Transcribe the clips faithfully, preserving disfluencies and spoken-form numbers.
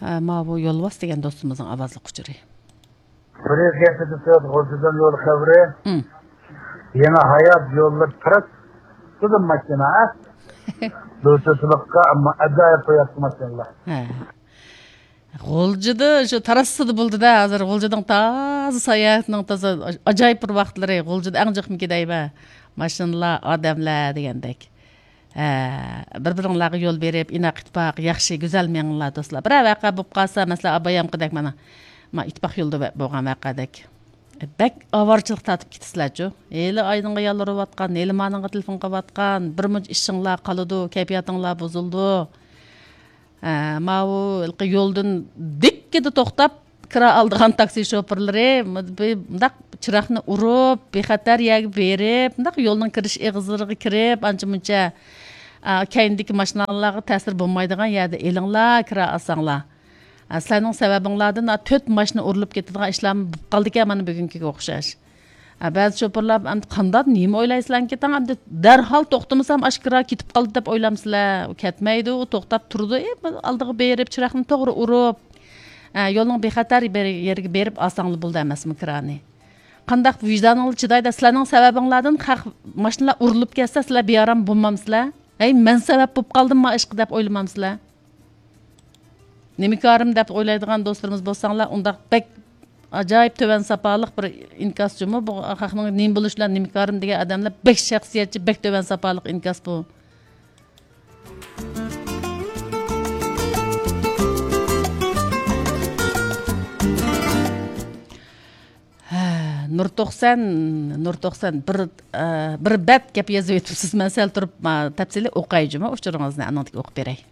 ھە، ماۋۇ يولۋاس دېگەن دوستىمىزنىڭ ئاۋازلىق ئۇچۇرى. بىر يىل كېيىن تۆت غۇلجىدىن يول خەۋىرى. ھىم. يېڭى ھايات يوللىرى تراس تۇتىدۇ ماشىنا، ھە؟ بلۇتۇسلۇققا، ئەمما ئاجايىپ قوياتتى ماشىنىلار. ھە. غۇلجىدا شۇ تاراسسىدا بولدى-دە، ھازىر غۇلجىنىڭ تازا ساياھەتنىڭ تازا ئاجايىپ بىر ۋاقىتلىرى، غۇلجىدا ئەڭ جىقمىكى دەيمەن. ماشىنىلار، ئادەملەر دېگەندەك. ھە، بىر-بىرىڭلارغا يول بېرىپ، ئىناق ئىتتىپاق، ياخشى، گۈزەل مېڭىڭلار دوستلار. بىرەر ۋەقە بولۇپ قالسا، مەسىلەن، ئابايامقىدەك مانا، ما ئىتتىپاق يولىدا بولغان ۋەقەدەك. بەك ئاۋارىچىلىق تارتىپ كېتىسىلەرچۇ. ھېلى ئاينىڭغا يالۋۇرۇۋاتقان، ھېلى مانىڭغا تېلېفون قىلىۋاتقان، بىر مۇنچە ئىشىڭلار قالىدۇ، كەيپىياتىڭلار بۇزۇلىدۇ. ھە، ماۋۇ ھېلىقى يولدىن دىككىدە توختاپ، كىرا ئالىدىغان تاكسى شوپۇرلىرى مۇنداق چىراغنى ئۇرۇپ، بىخەتەر يەرگە بېرىپ، مۇنداق يولنىڭ كىرىش ئېغىزلىرىغا كىرىپ، ئانچە-مۇنچە، ئا، كەينىدىكى ماشىنىلارغا تەسىر بولمايدىغان يەردە ئېلىڭلار، كىرا ئالساڭلار. ئا، سىلەرنىڭ سەۋەبىڭلاردىن، ئا، تۆت ماشىنا ئۇرۇلۇپ كېتىدىغان ئىشلارمۇ بولۇپ قالدىكەن مانا بۈگۈنكىگە ئوخشاش. ئا، بەزى شوپۇرلار ئەمدى قانداق، نېمە ئويلايسىلەركىن تاڭ، ئەمدى دەرھال توختىمىسام ئاشۇ كىرا كېتىپ قالدى دەپ ئويلامسىلەر؟ ئۇ كەتمەيدۇ، ئۇ توختاپ تۇرىدۇ. ئى، بىر ئالدىغا بېرىپ، چىراغنى توغرا ئۇرۇپ، ئە، يولنىڭ بىخەتەر بىر يېرىگە بېرىپ ئالساڭلا بولدى ئەمەسمۇ كىرانى؟ قانداق ۋىجدانىڭلار چىدايدۇ؟ سىلەرنىڭ سەۋەبىڭلاردىن خەق ماشىنىلار ئۇرۇلۇپ كەتسە، سىلەر بىئارام بولمامسىلەر؟ ھەي، مەن سەۋەب بولۇپ قالدىمما ئىشقا دەپ ئويلىمامسىلەر؟ نېمە كارىم دەپ ئويلايدىغان دوستلىرىمىز بولساڭلار، ئۇنداق بەك ئاجايىپ تۆۋەن ساپالىق بىر ئىنكاس جۇمۇ. بۇ خەقنىڭ نېمە بولۇشى بىلەن نېمە كارىم دېگەن ئادەملەر بەك شەخسىيەتچى، بەك تۆۋەن ساپالىق ئىنكاس بۇ. ھە، نۇر توقسان، نۇر توقسان، بىر، ئە، بىر بەت گەپ يېزىۋېتىپسىز. مەن سەل تۇرۇپ، ما، تەپسىلىي ئوقاي جۇمۇ ئۇچۇرىڭىزنى، ئانىڭدىن كېيىن ئوقۇپ بېرەي.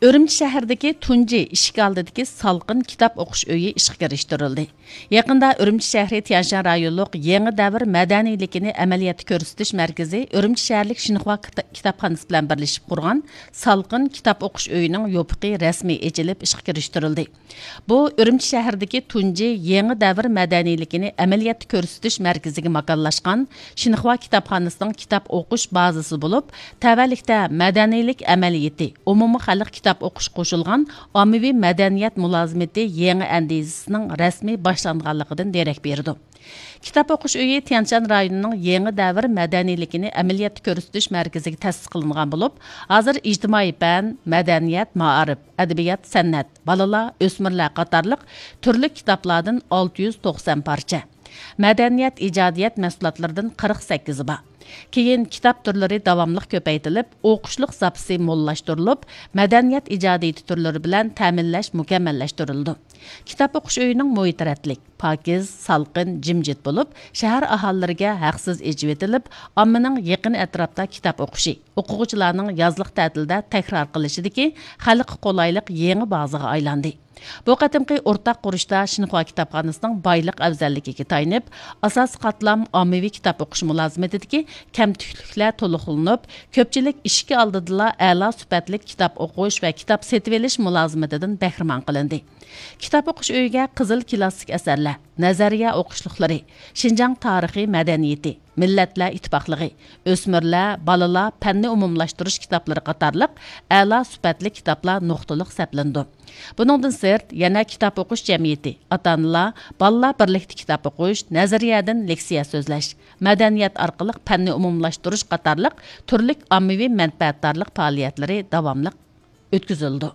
ئۈرۈمچى شەھىرىدىكى تۇنجى ئىشىك ئالدىدىكى سالقىن كىتاب ئوقۇش ئۆيى ئىشقا كىرىشتۈرۈلدى. يېقىندا ئۈرۈمچى شەھىرى تيەنشان رايونلۇق يېڭى دەۋر مەدەنىيلىكىنى ئەمەلىيەتتە كۆرسىتىش مەركىزى ئۈرۈمچى شەھەرلىك شىنخۇا كىتا-، كىتابخانىسى بىلەن بىرلىشىپ قۇرغان سالقىن كىتاب ئوقۇش ئۆيىنىڭ يوپۇقى رەسمىي ئېچىلىپ ئىشقا كىرىشتۈرۈلدى. بۇ ئۈرۈمچى شەھىرىدىكى تۇنجى يېڭى دەۋر مەدەنىيلىكىنى ئەمەلىيەتتە كۆرسىتىش مەركىزىگە ماكانلاشقان شىنخۇا كىتابخانىسىنىڭ كىتاب ئوقۇش بازىسى بولۇپ، تەۋەلىكتە مەدەنىيلىك ئەمەلىيىتى، ئومۇمىي خەلق كىتاب ئوقۇش قوشۇلغان ئاممىۋى مەدەنىيەت مۇلازىمىتى يېڭى ئەندىزىسىنىڭ رەسمىي باشلانغانلىقىدىن دېرەك بېرىدۇ. كىتاب ئوقۇش ئۆيى تيەنشان رايونىنىڭ يېڭى دەۋر مەدەنىيلىكىنى ئەمەلىيەتتە كۆرسىتىش مەركىزىگە تەسىس قىلىنغان بولۇپ، ھازىر ئىجتىمائىي پەن، مەدەنىيەت، مائارىپ، ئەدەبىيات، سەنئەت، بالىلار، ئۆسمۈرلەر قاتارلىق تۈرلۈك كىتابلاردىن ئالتە يۈز توقسان پارچە، مەدەنىيەت، ئىجادىيەت مەھسۇلاتلىرىدىن قىرىق سەككىزى بار. كېيىن كىتاب تۈرلىرى داۋاملىق كۆپەيتىلىپ، ئوقۇشلۇق زاپىسى موللاشتۇرۇلۇپ، مەدەنىيەت ئىجادىيىتى تۈرلىرى بىلەن تەمىنلەش مۇكەممەللەشتۈرۈلىدۇ. كىتاب ئوقۇش ئۆيىنىڭ مۇھىتى رەتلىك، پاكىز، سالقىن، جىمجىت بولۇپ، شەھەر ئاھالىلىرىگە ھەقسىز ئېچىۋېتىلىپ، ئاممىنىڭ يېقىن ئەتراپتا كىتاب ئوقۇشى، ئوقۇغۇچىلارنىڭ يازلىق تەتىلدە تەكرار قىلىشىدىكى خەلققە قولايلىق يېڭى بازىغا ئايلاندى. بۇ قېتىمقى ئورتاق قۇرۇشتا شىنخۇا كىتابخانىسىنىڭ بايلىق ئەۋزەللىكىگە تايىنىپ، ئاساسىي قاتلام ئاممىۋى كىتاب ئوقۇش مۇلازىمىتىدىكى كەمتۈكلۈكلەر تولۇقلىنىپ، كۆپچىلىك ئىشىكى ئالدىدىلا ئەلا سۈپەتلىك كىتاب ئوقۇش ۋە كىتاب سېتىۋېلىش مۇلازىمىتىدىن بەھرىمەن قىلىندى. كىتاب ئوقۇش ئۆيىگە قىزىل كىلاسسىك ئەسەرلەر، نەزەرىيە ئوقۇشلۇقلىرى، شىنجاڭ تارىخى مەدەنىيىتى، مىللەتلەر ئىتتىپاقلىقى، ئۆسمۈرلەر، بالىلار پەننى ئومۇملاشتۇرۇش كىتابلىرى قاتارلىق ئەلا سۈپەتلىك كىتابلار نۇقتىلىق سەپلىنىدۇ. بۇنىڭدىن سىرت، يەنە كىتاب ئوقۇش جەمئىيىتى، ئاتا-ئانىلار، بالىلار بىرلىكتە كىتاب ئوقۇش، نەزەرىيەدىن لېكسىيە سۆزلەش، مەدەنىيەت ئارقىلىق پەننى ئومۇملاشتۇرۇش قاتارلىق تۈرلۈك ئاممىۋى مەنپەئەتدارلىق پائالىيەتلىرى داۋاملىق ئۆتكۈزۈلىدۇ.